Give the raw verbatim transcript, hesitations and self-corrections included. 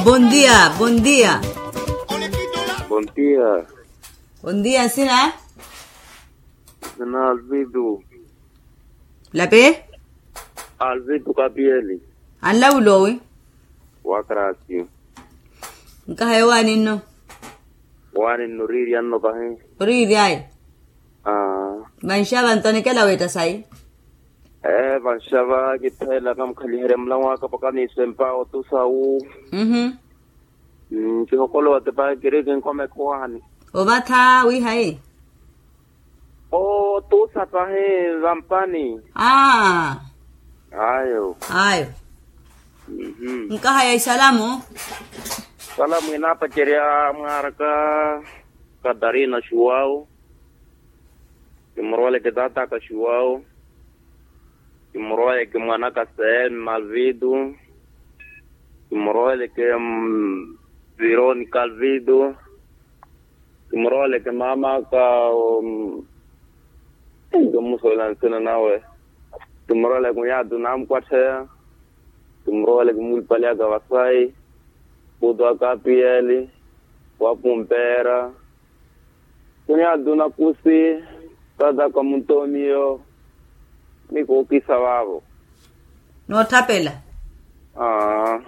Bondia bondia. Bondia. Bondia sina. Sina alvidu. Lape. Alvidu kapieli. Anlawula owi. Wakrasi. Nkahaye owaninno. Owaninno oriiryanno pahi. Oriiryaye. Vanxava nto anikela weetta sayi. Ee vanxava kittheela kamukhaliheriya mulamu waka pakaniisempa otusa wu. Kihokolowa tipa kiri kinkoma ekhuwani. Ovatha wihayi. Otusa pahi vampani. Ayo. Ayo. Nkaha ya isalamu. Salamu inaapacerya mwaaraka. Katarina xuwawu. Kimuroweleke taataka xuwawu. Kimuroweleke mwanaka seen malvitu. Kimuroweleke vironika alvitu. Kimuroweleke mamaka. Nto mmusuwela nsina nawe. Kimuroweleke unyaatu namukwattheya. Kimuroweleke muulupale aka vasayi. Putu aka apiyeli. Wapumpeera. Kunyatuna kusi. Tataka muntomiyo. Ni kuukisa vaavo. Nootthapela. Aa.